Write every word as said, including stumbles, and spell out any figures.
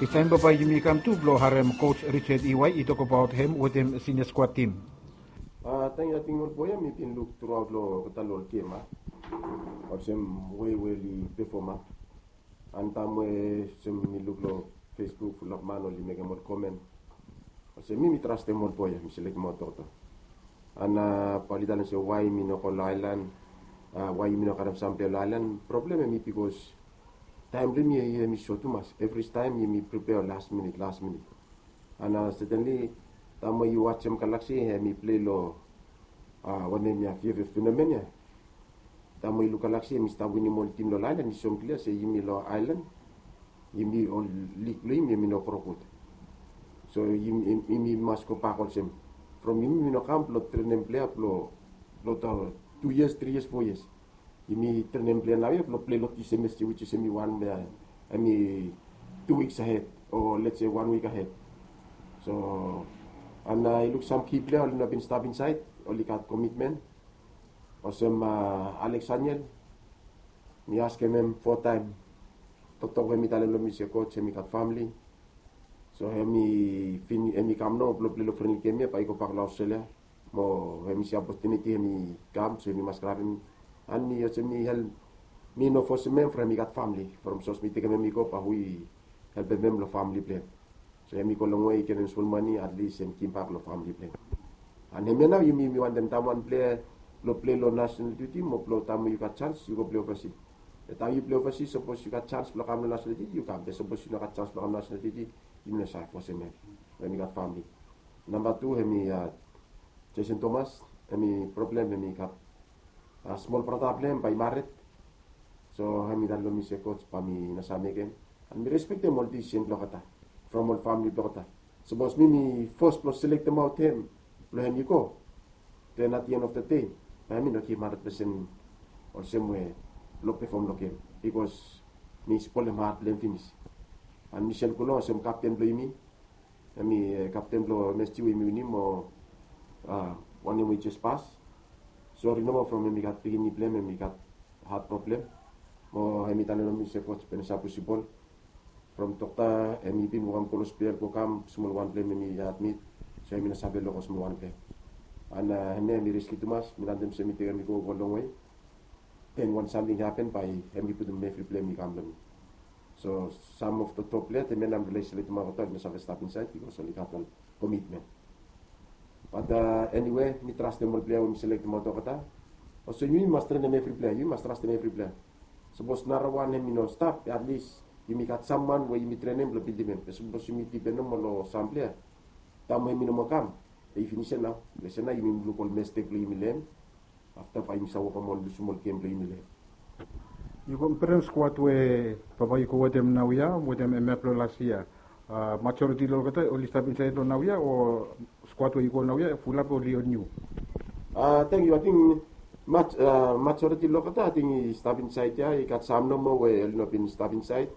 Taem bambae yumi kam tu blong harem coach Richard Iwai i tokbaot hem wetem senior squad team. Tangkiu. Ating ol boe ya mi bin luk truaot long olgeta long ol gem, a, olsem we oli pefom, a. An taem we olsem mi luk long Facebook, fulap man oli mekem ol komen. Olsem mi mi trastem ol boe ya, mi selektem olgeta. An bae oli talem se wae mi no go long aelan, wae yumi no karem sam plea long aelan. Problem hemi bikos taem blong yumi ya hemi sot tumas. Evri taem yumi pripea las minit, las minit. An setenli taem we yu wajem Galaxy hemi plei long wanem ya, VFF tunamen ya. Taem we yu luk Galaxy hemi stap winim ol tim long aelan, i soem klia se yumi long aelan, yumi ol lig blong yumi hemi no gro gud. So yumi mas gobak olsem. From yumi mi no kam blong trenem plea blong long tu yias, tri yias, fo yias. Yumi trenem plea naoia blong plei long dis semester, which is hemi wan, hemi tu wiks ahed o let's say wan wik ahed. So an yu luk sam ki plea oli no bin stap insaed, oli gat komitmen. Olsem Alex Daniel, mi askem hem fo taem. Toktok we hemi talem long mi se coach, hemi gat famili. So hemi kam nao blong plei long frenli gem ya, bae i gobak long Australia. Mo hemi se opotuniti hemi kam, so hemi mas grabem. An mi olsem mi help, mi no fosem hem from hemi gat famili. From sapos mi tekem hem i go, bae hu i helpem hem long famili blong hem? So hemi go longwe, i givim smol mane, at least hem givim bak long famili blong hem. An hemia nao yumi, mi wantem taem wan plea long plei long national duty mo blong taem we yu gat janis yu go plei ovasi. Be taem yu plei ovasi, sapos yu gat janis blong kam long national duty yu kam, be sapos yu no gat janis blong kam long national duty, yumi no save fosem hem. Hemi gat famili. Namba tu hemi Jason Thomas, hemi problem, hemi gat smol brata blong hem bae i mared. So hemi talem long mi se coach, bae mi no save mekem. An mi respektem ol disisen blong olgeta from ol famili blong olgeta. Sapos mi mi fos blong selektem aot hem blong hem i go, then at the end of the day bae hemi no givim hanred pesen olsem we blong pefom long gem, bikos mi spolem hat blong hem finis. An mi sel go long olsem kapten blong yumi, hemi kapten blong mesti we yumi winim mo wanem we i jes pas. Sori nomo from hemi gat pikinini blong hem, hemi gat hat problem. Mo hemi talem long mi se coach, bae no save posibol. From dokta hemi bin wokem go long hospital go kam, smol wan blong hem hemi admit. So hemi no save loko smol wan blong hem. An hemia hemi riski tumas, mi lanem se mi tekem i go, go longwe. Then wan samting hapen, bae hemi putum evri blong hem i kam long mi. So sam of the top plea, hemia nao mi selektemaot, oli no save stap insaed bikos oli gat ol komitmen. Bat eniwe, mi trastem ol plea we mi selektemaot olgeta. Olsem yumi mas trenem evri plea, yumi mas trastem evri plea. Sapos narawan hemi no stap, at least yumi gat sam man we yumi trenem blong bildim hem. Be sapos yumi dipen nomo long sam plea, taem we hemi no moa kam, be i finis ya nao. Olsem nao yumi luk ol mistek blong yumi long hem. Afta bae yumi save wokem ol, lusum ol gem blong yumi long hem. Yu compareem squad we bambae yu go wetem naoia wetem hemia blong las yia. Majoriti long olgeta oli stap insaed long naoia o squad we yu go naoia fulap oli ol niu? Tangkiu. Ating majoriti long olgeta ating i stap insaed ya, i gat sam nomo we oli no bin stap insaed.